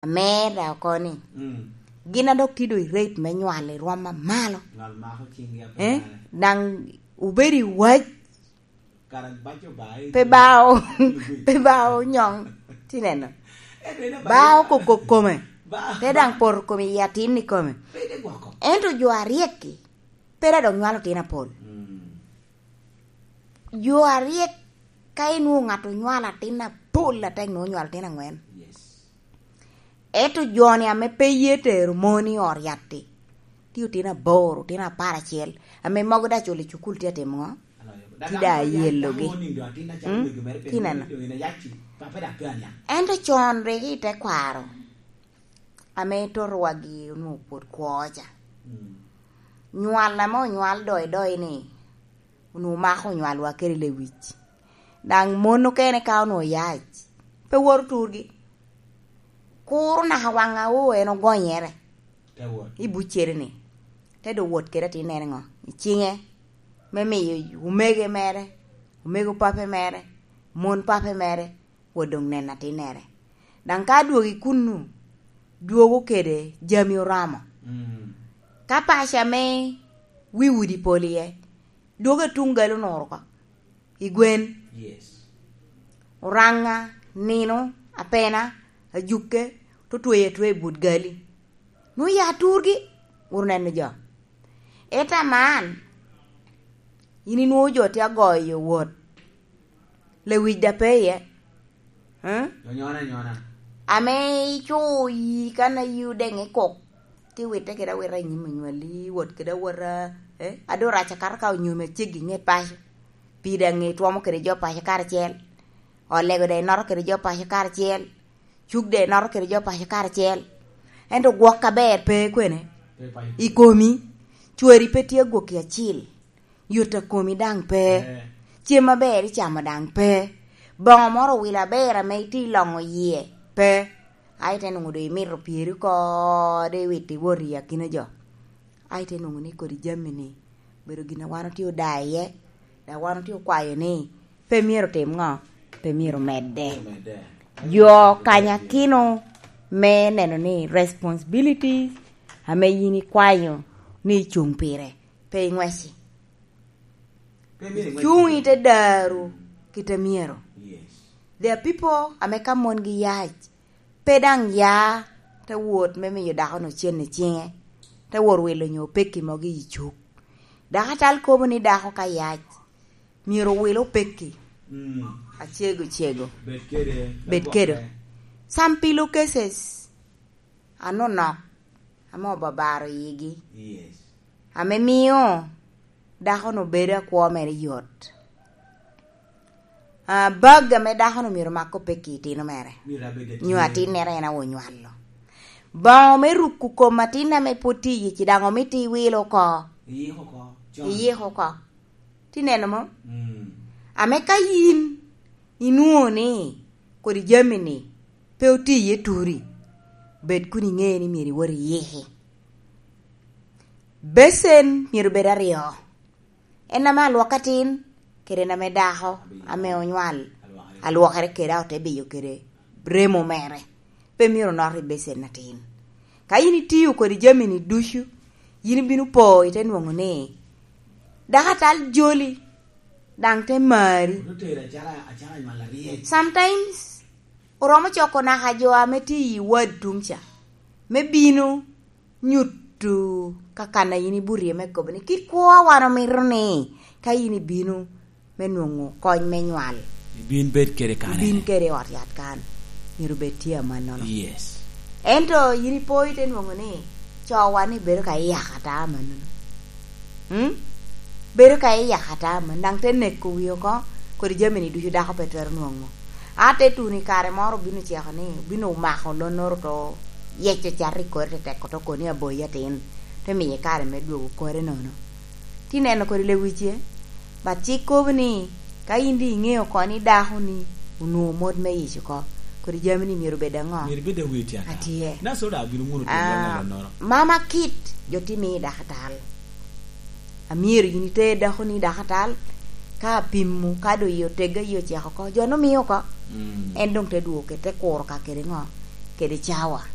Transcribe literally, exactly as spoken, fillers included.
Amera oko ni, mm, gin a dok tye doŋ i rate me nywal i rwom amalo. Nywal mako cinggi ape. Eh? Daŋ obedo i wac. Kara baco ba, eh, pe ba o-, pe ba onyoŋ. Tineno. Eh, pe na ba ba o-, okoko kome. Ba-, te daŋ poto kome i atin i kome. Pe de gwoko. Ento jo aryek-ki, pe dok nywalo tin apol. Mm. Jo aryek, ka inwoŋo ŋat onywalo atin apol atek, nwoŋo onywalo atin aŋwen. Yes. Ento jo-ni ame pe ye tero mon i ot yat-ti, tye otino aboro, otino apar acel, ame mogo daŋ culo i cukul tye atimo ŋo? Tye daŋ ayelogi. Mm? Tineno. Ento con rik i tekwaro, ame toto wagi onwoŋo pwod kwo ca. Mm. Nywal ame onywal doidoi ni, onwoŋo mako onywalwa kede lewic. Daŋ mon okene ka onwoŋo yac, pe woto turgi. Kuro naka waŋ awo en ogonyere. Te wot. I buccere-ni. Te doŋ wot kede atinnere ŋo? I ciŋe. Me miyo omege mere, omego pape mere, mon pape mere, wot doŋ neno atinnere. Daŋ ka adwogo i kunnu, dwogo kede jami oromo. Mm. Ka paco ame wi udi pol iye, dwogo i tuŋ gali onuro oko, i gwen. Yes. Oraŋa, nino, apena, ajuke, te tweyo atweya i but gali. Nwoŋo ya turgi, wot oneno jo. Ento aman, yin inwoŋo jo tye agoyo wot. Lewic daŋ pe iye. Eh? Onyona, anyona. Ame ico yi kan a yi odeŋ i kok, ti witte kede awita i nyim onywali, wot kede awota, eh? A doŋ rac akato ka onyomi aceggi i ŋet paco. Pii daŋ itwomo kede jo paco karacel. Olego daŋ inoto kede jo paco karacel. Cuk daŋ inoto kede jo paco karacel. Ento gwok aber pe kwene? Pe paco. I komi, cwari pe tye agwokki acil. Yot a komi daŋ pe. Eh. Cem aber icamo daŋ pe. Boŋo moro owilo aber ame itye iloŋo yie pe. A ite nwoŋo doŋ imito pyeri oko, doŋ iwito iwot i akina jo. A ite nwoŋo ni kodi jami-ni obedo gin a wan otye odaa iye, dok wan otye okwayo ni pe myero otim ŋo? Pe myero omedde. Omedde. Jo kanyakino me neno ni responsibilities ame yin ikwayo ni icuŋ pire, pe iŋweci. Pe myero iŋwec. Cuŋ i te daru kite myero. Yes. There are people ame ka mongi yac, pe daŋ ya te wot me miyo dako-nu cen i ciŋe, te wot wilo nyo pekki mogo i cuk. Dako atal kobo ni dako ka yac, myero owil opekki. Mm. Acego cego. Bed kede. Bed kede. Some pillow cases anonok ame obabaro yigi. Yes. Ame mio dako-nu bedo akwo mere yot. Ah, bag ame dako-nu myero mak opekki i tino mere. Myero abed atye. Nyo atinnere en awo nywalo. Boŋo me ruko kom atin ame pwod tye iye ci daŋ omito iwilo oko. Iyiko oko. Con. Iyiko oko. Ti neno mo? Mm. Ame ka yin inwoŋo ni kodi jami-ni pe otye iye turi, bed kun iŋe ni myero iwot iyiki. Becen myero bed aryo. En ame alwok atin, kede en ame dako, ame onywal, alwokere kede, a ote biyo kede remo mere. Pe myero onot i becen atin. Ka yin itio kodi jami-ni ducu, yin ibino po, ite nwoŋo ni dako atal joli, daŋ te mari. Ote tero acalo, acalo anywal aryek. Sometimes, oromo coko naka jo ame tye i wad tuŋ ca, me bino nyuto ka kan a yin ibuto iye me kobo ni, kit kwo a wan omito ni, ka yin ibino me nwoŋo kony me nywal, ibin bed kede kan, ibin kede i ot yat kan, myero bed tye amannono. Yes. Ento yin ipo ite nwoŋo ni, cowa ni bedo ka iyako ata amannono. Mm? Bedo ka iyako ata amannono, daŋ te neko wi oko, kodi jami-ni ducu dako pe twero nwoŋo. A te tuno i kare moro obino oceko ni, obino omako lonnoro to yeco cato i kore tetek, to koni aboyi atin, te miye kare me dwogo kore nono. Ti neno kodi lewice, but ci ikobo ni, ka in di iŋeo oko ni dako-ni onwoŋo mot me yic oko, kodi jami-ni myero bed aŋo? Myero bed awi tye ata. Atye. Nasol daŋ abino ŋuno tyen lonnoro. Ah, mama kit jo ti miyo dako tal. Amyero yin iter dako-ni dako atal, ka apimo, ka doŋ i otega, i oceko oko, jo nongo mio oko. Mm. En doŋ te dwogo kede te kuro ka kede ŋo? Kede cawa.